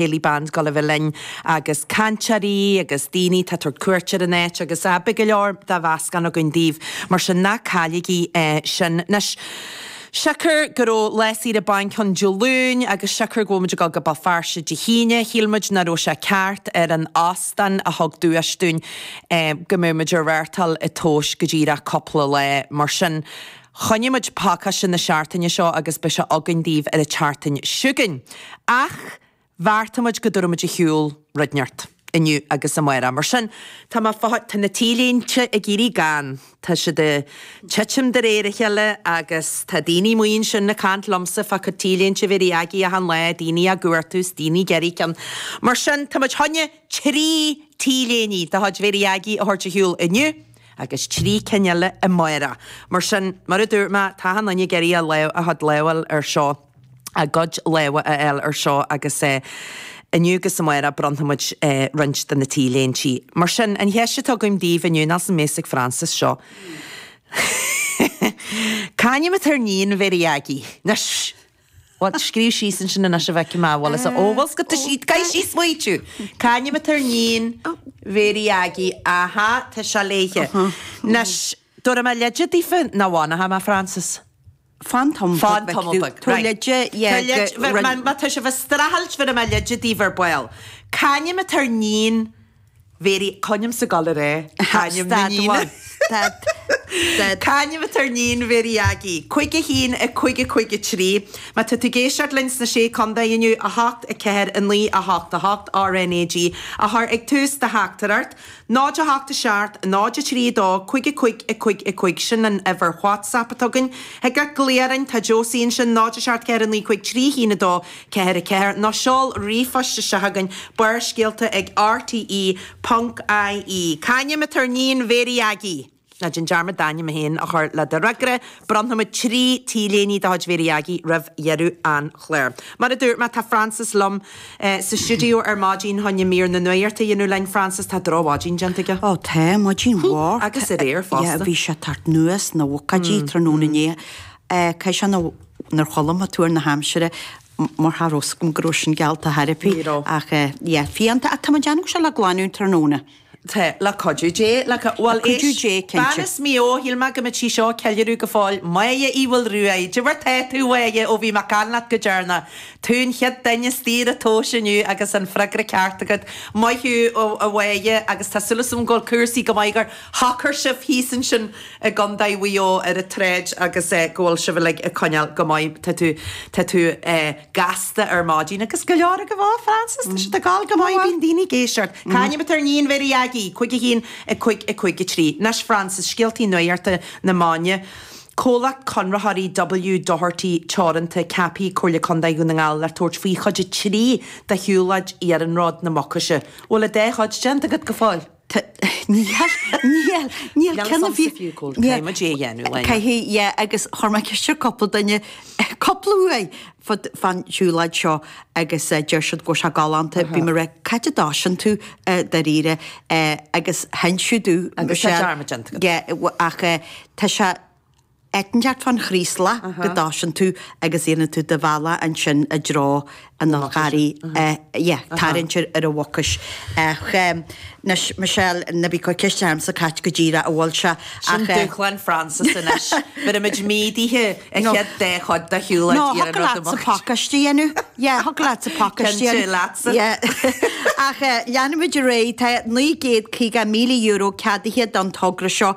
Céilí Band gabháil a bheith linn agus cainteoirí agus daoine atá ag tabhairt cuairt ar an áit agus ah beidh go leor de mheascán againn daoibh mar sin ná cailligí é sin. Anois, siocair go raibh lá saoire bainc ann Dé Luain agus siocair go bhfuil muid ag dul go Béal Feirste Dé hAoine, shíl muid nach raibh sé ceart ar an óstán a thug duais dúinn go mbeadh muid ag reáchtáil an tomhas go díreach cúpla lá mar sin. Choinnigh muid pacáiste na seachtaine seo agus beidh sé againn daoibh ar an tseachtain seo chugainn. Ach bheartaigh muid go dtabharfaidh muid ar shiúl rud inteacht inniu agus amárach. Mar sin, tá mé fá, tá na T-léinte ag éirí gann. Tá siad ag titim de réir a chéile agus tá daoine amuigh ansin ag caint liomsa fá chuid T-léinte Mhéirí Aggie achan lá, daoine á gcuartú is daoine ag iarraidh ceann. Mar sin, tá muid choinne 3 T-léine de chuid Mhéirí Aggie a thabhairt ar shiúl inniu. agus 3 cinn eile amárach. Mar sin, mar a dúirt mé, tá achan duine ag iarraidh a lámh, a chuid lámh a fháil ar seo, a gcuid lámha a fháil ar seo agus inniu agus amárach bronnfaidh muid roinnt de na T-léintí. Mar sin, an cheist atá agam daoibh inniu, níl 's an mbeidh a fhios ag Frances seo. C'ainm atá ar níon Mhéirí Aggie? Anois! Bhuel, scríobh síos ansin anois a bhfeicfidh mé, bhfuil fhios a, ó, bhfuil 's go, tá siad, caith síos smaoitiú! C'ainm atá ar níon Mhéirí Aggie? Aha, tá sé léithe. Anois, dtabharfaidh mé leide daofa nó bhfanfaidh mé, Frances? Fan tamall Fan tamall beag, Tabhair right. leide, yeah, Tabhair leide, go, bheir, má, má tá sibh ag streachailt, bhéarfaidh mé leide daoibh ar ball. C'ainm atá ar níon Mhéirí, c'ainm sa gol ar é? C'ainm na Stad níne? amháin. Stad. Stad. C'ainm atá ar níon Mhéirí Aggie? 5 1 5 5 3. Má tá tú ag éisteacht linn sna Sé Contae inniu, 8 4 9 8 8 RNAG a chur ag tús do theachtaireacht, 0 8 7 0 3 2 5 5 5 5 Sin an uimhir WhatsApp atá againn. Thig leat glaoch orainn, tá Josie ansin, 0 7 4 9 5 3 1 2 4 4 Nó seol ríomhphost isteach chugainn, Barrscéalta ag rte ponc ie. C'ainm atá ar níon Mhéirí Aggie? Ná déan dearmad d'ainm féin a chur le do fhreagra. Bronnfaimid 3 T-léine de chuid Mhéirí Aggie roimh dheireadh an chláir. Mar a dúirt mé, tá Frances liom sa stiúideo ar maidin chun mír na nuachta a dhéanamh linn. Frances, tá drochmhaidin déanta aige. Ó tá, maidin mhór. Agus aréir fosta. Yeah, bhí sé ag teacht anuas na bhocáidí tráthnóna inné. Caithfidh sé nár chodlaim mé tuar na haimsire mar cha raibh 's agam go raibh sin geallta thar ar bith. Ní raibh. Ach yeah, fiánta. Ach tá mé ag déanamh go bhfuil sé le glanadh tráthnóna. Tá, le cuidiú Dé. Le, bhuel, Le cuidiú éist, Dé, cinnte. bean as Maigh Eo, shíl mé go mbeadh sí seo ag ceiliúradh go fóill. Máire Uí Mhaolruaidh, cad é mar tá tú, a Mháire, ó bhí mé ag caint leat go deireanach. Tú an chéad duine istigh ar an tomhas inniu agus an freagra ceart agat. Maith thú, a Mháire, agus tá súil agam go bhfuil cúrsaí go maith gur shocair sibh thíos ansin i gContae Mhaigh Eo ar an tsráid agus go bhfuil sibh uilig ag coinneáil go maith. Tá tú, tá tú gasta ar maidin agus go leor agaibh ó, Frances, tá siad ag gabháil go maith, bíonn daoine ag éisteacht. C'ainm atá ar níon Mhéirí Aggie? 5 1 5 5 3. Anois Frances, scéaltaí nuachta na maidine. Comhlacht Conraitheoirí W Doherty Teoranta ceaptha ag Comhairle Contae Dhún na nGall le tabhairt faoi chuid 3 de shiúlóid Iarnród na Mucaise. Bhfuil an dá chuid déanta agat go fóill? Níl, níl, níl ceann a bhí. Caithfidh muid é a dhéanamh, Lena. Caithfidh, yeah, agus chuir mé ceist ar cúpla duine, cúpla uair fán tsiúlóid seo agus deir siad go bhfuil sé galánta, bím ag rá, cá háit a dtosaíonn tú dáiríre agus sheinn siad domh. Agus tá dearmad déanta agat. Yeah, ach tá sé, Áit inteacht fán Chraoslach go dtosaíonn tú agus dhéanann tú do bhealach ansin i dtreo an Fhál Charraigh, yeah, tarraingt ar an Mhucais. Ach anois, Michelle, ná bí ag cur ceist ormsa cá háit go díreach a bhfuil sé Sin ach. dúshlán Frances anois. Bhéarfaimid méadaithe an chéad dá chuid de shiúlóid No, thiocfadh Iarnród na leatsa Mucaise. pacáiste a dhéanamh. Yeah, thiocfadh leatsa pacáiste a Cinnte, dhéanamh. leatsa. Yeah. Ach leanfaimid ar aghaidh. Tá €950,000 ceadaithe don togra seo,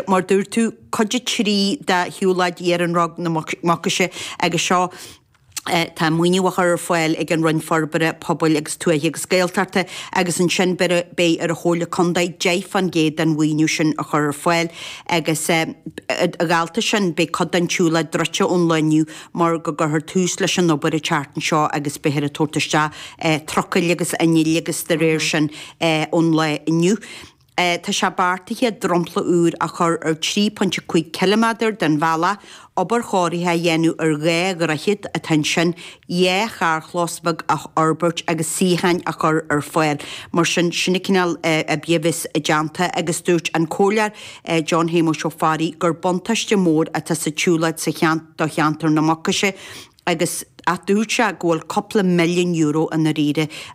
mar dúirt tú, Cuid 3 de shiúlóid Iarnród na Mucaise agus seo tá maoiniú á chur ar fáil ag an Roinn Forbartha Pobail agus Tuaithe agus Gaeltachta agus ansin beidh ar an Chomhairle Contae 10% den mhaoiniú sin a chur ar fáil agus a dhalta sin beidh cuid den tsiúlóid druidte ón lá inniu mar go gcuirfear tús leis an obair an tseachtain seo agus beifear ag tabhairt isteach trucail agus innill agus de réir sin ón lá inniu. Tá sé beartaithe dromchla úr a chur ar 3.5 ciliméadar den bhealach, obair chóirithe a dhéanamh ar 2 dhroichead atá ansin, 2 charrchlós bheag a fhorbairt agus suíocháin a chur ar fáil. Mar sin, sin an cineál oibre a bheas déanta agus dúirt an Comhairleoir John Shéamuis Ó Fearraigh gur buntáiste mór atá sa tsiúlóid sa do cheantar na Mucaise. Agus ach dúirt sé go bhfuil cúpla milliún euro i ndáiríre.